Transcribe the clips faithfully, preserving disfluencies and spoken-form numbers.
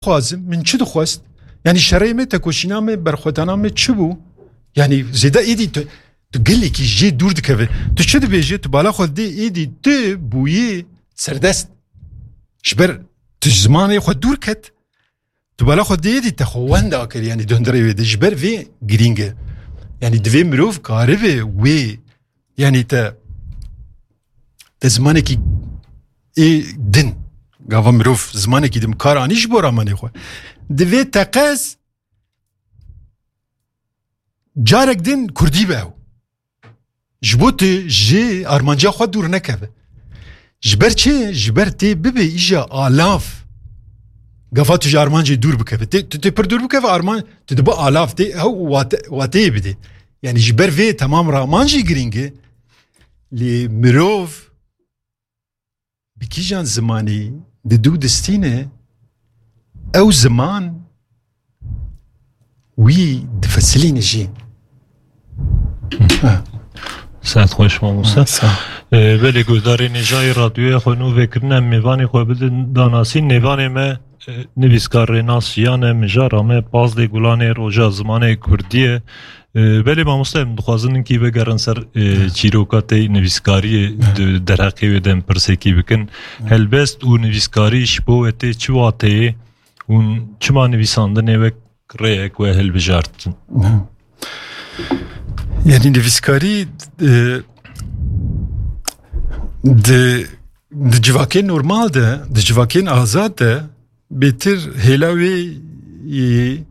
dixwazim, min çi dixwest? Yanî şerê me, tekoşîna me, berxwedana me çi bû? Yanî zêde êdî tu, tu gelekî jê dûr dikeve. Tu çi dibêje? Tu bala xwe dê êdî tu bûyî serdest. Ji ber tu ji zimanê xwe dûr ket. Tu bala xwe dê êdî te xwe wenda kir, yanî di hundirê wê de. Ji ber vê girîng e. Yanî divê mirov karibe wê, yanî te, te zimanekî ê din, gava mirov zimanekî din kar anî ji bo ramanê xwe. Divê teqez carek din kurdî be ew. Ji bo tu ji armanciya xwe dûr nekeve. Ji ber çi? Ji ber tê bibe îja alav. Gafa tu ji armancê dûr bikeve. Tê, tu tê pir dûr bikeve, arman, tu dibe alav, tê hew wate, wateyê bidê. Yanî ji ber vê temam raman jî girîng e. Lê mirov bi kîjan zimanî di dû distîne, ew ziman wî difesilîne jî. Ha. Saet xweş mamoste. Ha, sağ ol. Ee, belê guhdarê nêjayî radyoya xwe nû vekirine, em mêvanê xwe bidin danasîn. Nêvanê me, e, nivîskar Rênas Jiyan e, mijara me pazdê gulanê roja zimanê kurdî ye. E, belê mamoste, em dixwazin hinkî vegerin ser, e, çîroka te yî nivîskariyê, di derheqê wê de em pirsekî bikin. Helbest û nivîskarî ji bo we tê çi wateyê û çima nivîsandinê wek rêyek we hilbijartin? Yanî nivîskarî, e, di, di civakên normal de, di civakên azad de bêtir hêla wê, e,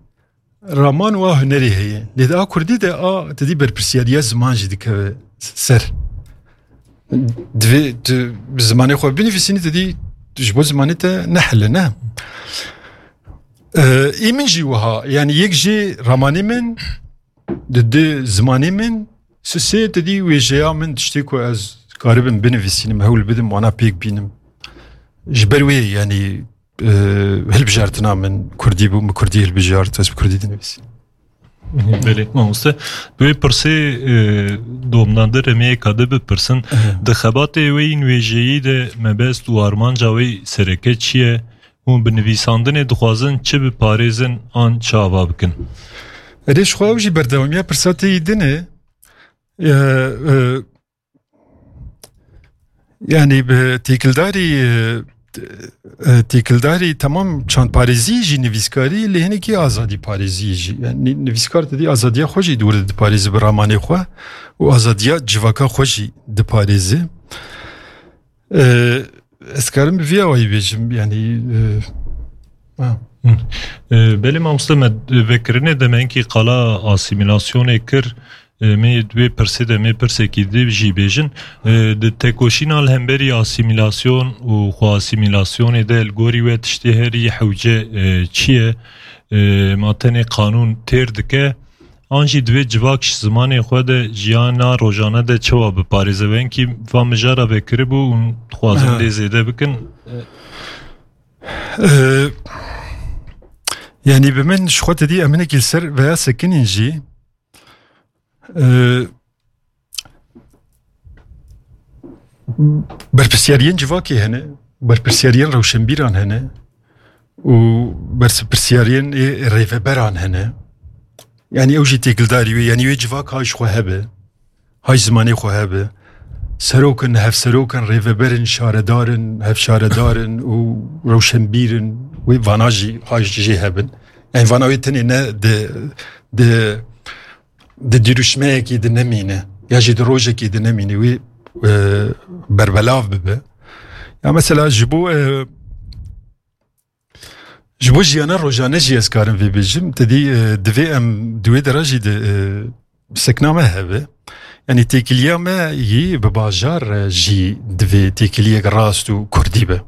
raman û a hunerê heye. Lê di a kurdî de a, te dî berpirsiyariya ziman jî dikeve ser. Divê tu bi zimanê xwe binivîsînî, te dî ji bo zimanê te nehile, ne? Ee, ê min jî wiha, yanî yek jê ramanê min, di du zimanê min, sisê te dî wêjeya min, tiştê ku ez karibim binivîsînim, hewl bidim wana pêk bînim. Ji ber wê, yanî, e, hilbijartina min kurdî bû, min kurdî hilbijart, ez bi kurdî dinivîsim. Belê, mamoste. Bi wê pirsê, e, domdan de remiyeka de bipirsin. Di xebatê wê yî nivîjeyî de mebest û armanca wê sereke çi ye? Hûn bi nivîsandinê dixwazin çi biparêzin an çi ava bikin? Erê, ji xwe ew jî berdewamiya pirsa te yî din e. E, e, Yanî bi têkildarî, e, e, têkildarî temam çandparêzî jî nivîskarî, lê hinekî azadî parêzî jî. Yanî nivîskar te dî azadiya xwe jî di wir de diparêze bi ramanê xwe û azadiya civaka xwe jî diparêze. E, ez karim bi vî awayî bêjim, yanî, e, ha. Hı. E, belê mamoste, me vekirinê de me hinkî qala asîmîlasyonê kir. E, me di wê pirsê de me pirsekî di jî bêjin. E, di tekoşîna li hemberî asîmîlasyon û xwe asîmîlasyonê de li gorî we tiştê herî hewce, e, çi ye? E, ma tenê qanûn têr dike? An jî divê civak ji zimanê xwe de jiyana rojane de çawa biparêze? Wengî va mijara vekiribû û dixwazin Ha. lê zêde bikin. Ee, yanî bi min ji xwe te dî em hinekî li ser veya sekinîn jî, ee, berpirsiyariyên civakê hene, berpirsiyariyên rewşenbîran hene û berpirsiyariyên ê rêveberan hene. Yanî ew jî têkildarî wê, yanî wê civak hay ji xwe hebe, hay zimanê xwe hebe. Serok in, hevserok in, rêveber in, şaredar in, hevşaredar in û rewşenbîr in. Wê vana jî hay jê hebin. Yanî vana wê tenê ne di, di, di dirûşmeyekî di nemîne, ya jî di rojekî di nemîne, wê, e, berbelav bibe. Ya mesela ji bo, e, Ji bo jiyana rojane jî ez karim vê bêjim, te dî, e, divê em di wê dera jî di, e, sekna me hebe. Yanî têkiliya me yî bi bajar, e, jî divê têkiliyek rast û kurdî be.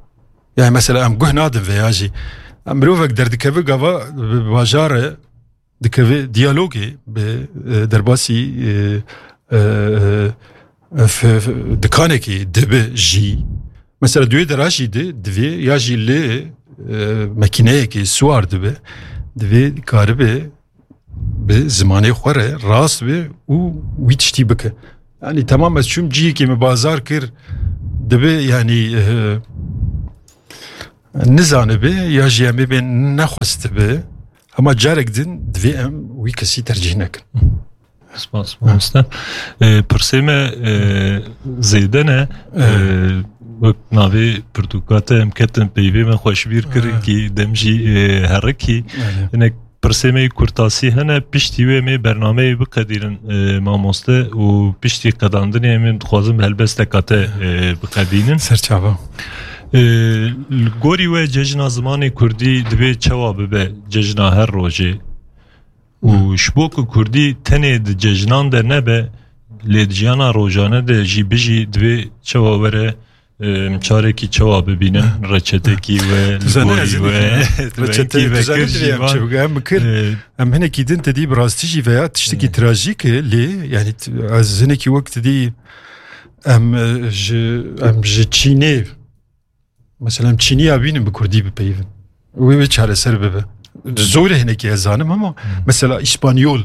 Yani mesela em guh nadin veya jî. Em mirovek derdikeve gava bi bajar e, dikeve diyalogê bi, e, derbasî, e, e, e, f-, f-, dikanekî dibe jî. Mesela di wê dera jî di, divê ya jî li, e, mekîneyekê siwar dibe, divê karibe bi zimanê xwe re rast be û wî tiştî bike. Yani tamam, ez çûm cihekê min bazar kir, dibe yani, e, Nizanibe ya jî em ê bê nexwestibe, hema carek din divê em wî kesî tercîh nekin. Spas, mamoste. E, pirsê me, e, zêde ne. E, Evet. Wek navê pirtûka te em ketin peyvê me xweşbîr kirin Evet. Kî dem jî, e, herikî. Evet. Hinek pirsê me yê kurtasî hene, piştî wê em ê bernameyê biqedînin, e, mamoste, û piştî qedandinê em ê dixwazin bi helbesteka te, e, biqedînin. Serçava. E, Li gorî we cejna zimanê kurdî divê çawa bibe cejna her rojê? Û Hmm. Ji bo ku kurdî tenê di cejnan de nebe, lê di jiyana rojane de jî bijî, divê çawa were, em, çarekî çawa bibînin, reçetekî we, Tu li zanî gorî ez we, hinekî reçete, wekî tu zanî vekir divê jî em van. Çi bike, em bikir, Ee, em hinekî din te dî bi rastî jî veya tiştekî Ee. trajîk e, lê, yani, t-, ez hinekî wek te dî em, e, ji, em ji Çînê, mesela, em Çîniya bînin bi kurdî bipeyivin. Wê, wê çareser bibe. Zor e hinekî ez zanim ama, Hmm. mesela, îspanyol,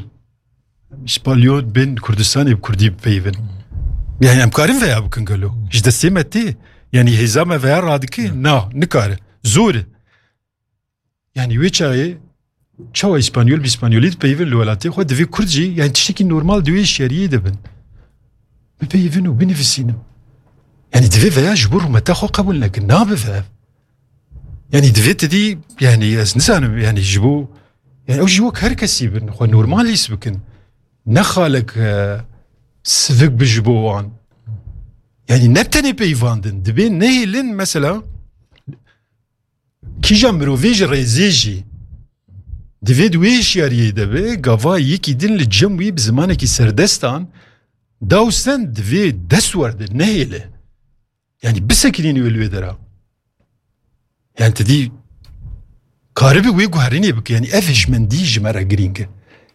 Îspanyol bên Kurdistanê bi kurdî bipeyivin. Yani em karin veya bikin gelo. Ji destê me tê. Yani hêza me veya radike. Na, nikare. Zor e. Yani wê çaxê çawa Îspanyol bi Îspanyolî dipeyivin li welatê xwe, divê Kurd jî, yani tiştekî normal di wê hişyariyê de bin. Bipeyivin û binivîsînin. Yani divê veya ji bo rûmeta xwe qebûl nekin. Nabe veya. Yani divê te dî, yani ez nizanim, yani ji bo, yani ew jî wek her kesî bin, xwe normal hîs bikin. Ne xalek, e, sivik bi ji bo wan. Yani ne tenê peyvandin, divê nehêlin mesela kîja mirovê ji rêzê jî. Divê di wê hişyariyê de be, gava yekî din li cem wî bi zimanekî serdestan, dawsen divê dest werde, nehêle. Yani bisekinîn wê li wê dera. Yani te dî karibe wê guherînê bike. Yani ev hişmendî ji me re girîng e.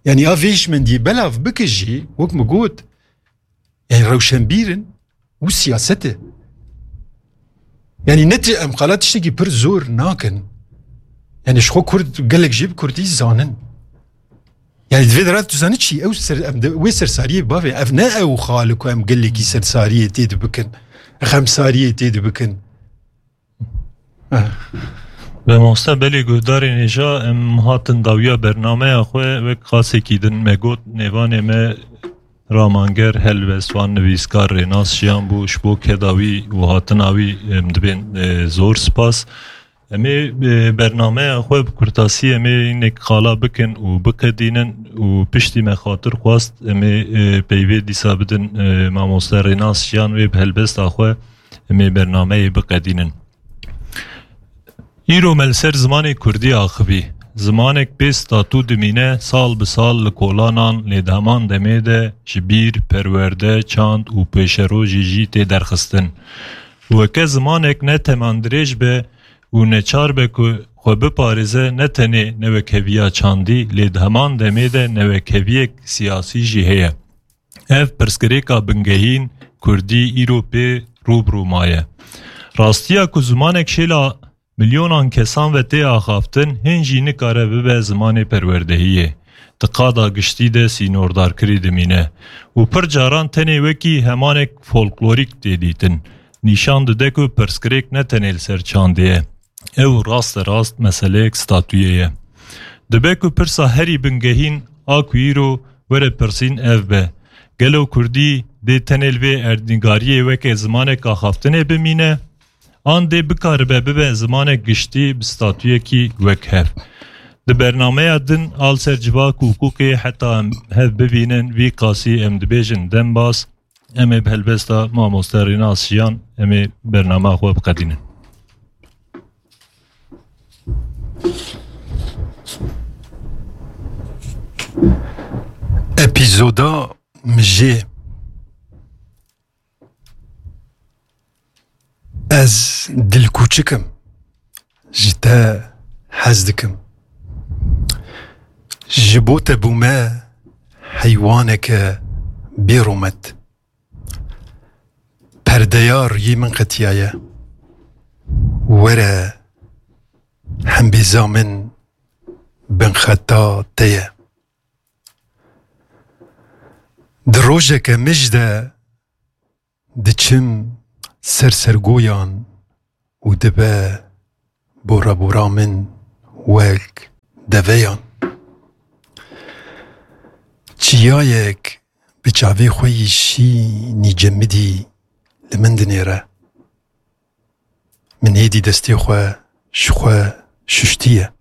Yani a vê hişmendiyê belav bike jî, wek min got, yani rewşenbîr in û siyaset e. Yani ne ti-, em qala tiştekî pir zor nakin. Yani ji xwe Kurd gelek jî bi Kurdî zanin. Yani divê dera tu zanî çi? Ew ser, em de, wê sersariyê bavê. Ev ne ew xal ku em gelekî sersariyê tê dibikin. Xemsariyê tê dibikin. Eh. Be mamoste, belê guhdarên hêja, em hatin dawiya bernameya xwe, wek qasekî din me got, nêvanê me ramanger, helbestvan, nivîskar Rênas Jiyan bû, ji bo keda wî û hatina wî em dibên, e, zor spas. Em ê, e, bernameya xwe bi kurtasî em ê hinek qala bikin û biqedînin û piştî me xatir xwest em ê, e, peyvê dîsa bidin, e, mamoste Rênas Jiyan wê bi helbesta xwe em ê bernameyê biqedînin. Îro me li ser zimanê kurdî axivî. Zimanek bê statû dimîne, sal bi sal li kolanan, lê di heman demê de ji bîr, perwerde, çand û pêşerojê jî tê derxistin. Weke zimanek ne temandirêj be û neçar be ku xwe biparêze, ne tenê newekheviya çandî, lê di heman demê de newekheviyek siyasî jî heye. Ev pirsgirêka bingehîn kurdî îro pê rû bi rû maye. Rastiya ku zimanek şêla milyonan kesan ve tê axaftin, hîn jî nikare bibe zimanê perwerdehiyê. Di qada giştî de sînordarkirî dimîne û pir caran tenê wekî hemanek folklorîk tê dîtin. Nîşan dide ku pirsgirêk ne tenê li ser çandê ye. Ew raste rast meseleyek statuyê ye. Dibe ku pirsa herî bingehîn a ku îro were pirsîn ev be, gelo kurdî dê tenê li vê erdnîgariyê weke zimanek axaftinê bimîne? An dê bikaribe bibe zimanek giştî bi statuyekî wekhev? Di bernameya din a li ser civak û hiqûqê heta em hev bibînin, vî qasî em dibêjin dembaz. Em ê bi helbesta mamoste Rênas Jiyan em ê bernama xwe biqedînin. Epîzoda mijê. Ez dilkûçik im. Ji te hez dikim. Ji bo te bûme heywaneke bêrûmet. Perdeya riyê min qetiyaye. Were hembêza min binxeta te ye. Di rojeke mij de diçim ser sergoyan û dibe bora bora min wek deveyan. Çiyayek bi çavê xwe yî şînî cemidî li min dinêre. Min hêdî destê xwe ji xwe şuştiye.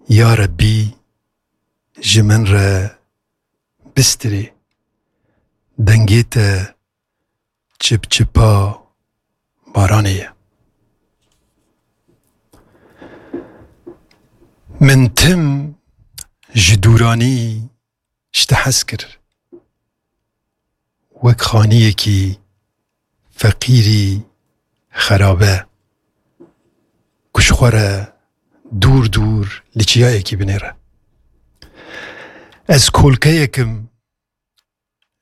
Ya Rebbî, ji min re bistirê. Dengê te çipçipa baranê ye. Min tim ji dûranî ji te hez kir. Wek xaniyekî feqîrî xerabe ku ji xwe re dûr dûr li çiyayekî binêre. Ez kolkeyek im,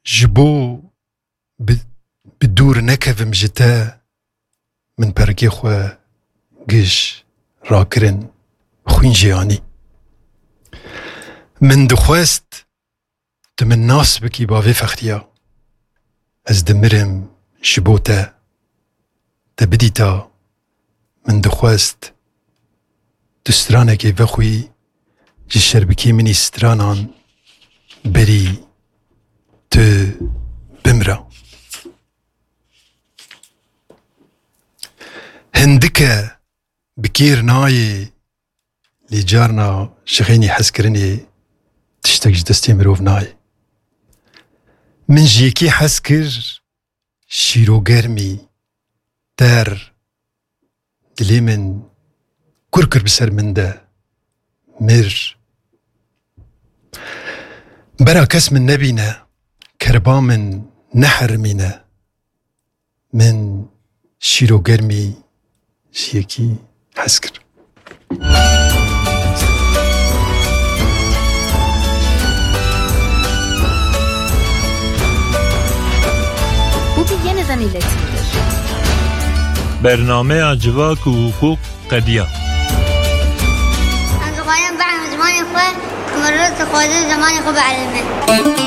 ji bo bi, bi dûr nekevim ji te, min perikê xwe giş rakirin, xwîn jê anî. Min dixwest tu min nas bikî bavê fexriya. Ez dimirim ji bo te. Te bidîta, min dixwest tu stranekê vexwî, ji şerbikê min î stranan berî tu bimira. Hindike bi kêr nayê, lê carna ji xeynî hezkirinê tiştek ji destê mirov nayê. Min ji yekî hez kir, şîrogermî, ter, dilê min kur kir bi ser min de, mir. Bera kes min nebîne, kerba min neherimîne. Min şîrogermî ji yekî hez kir. Bu bir yeniden iletildi. Bernameya Civak û Hukuk qediya. Em dixwazin bibin zimanê xwe, ku mirov dixwaze zimanê xwe bielime.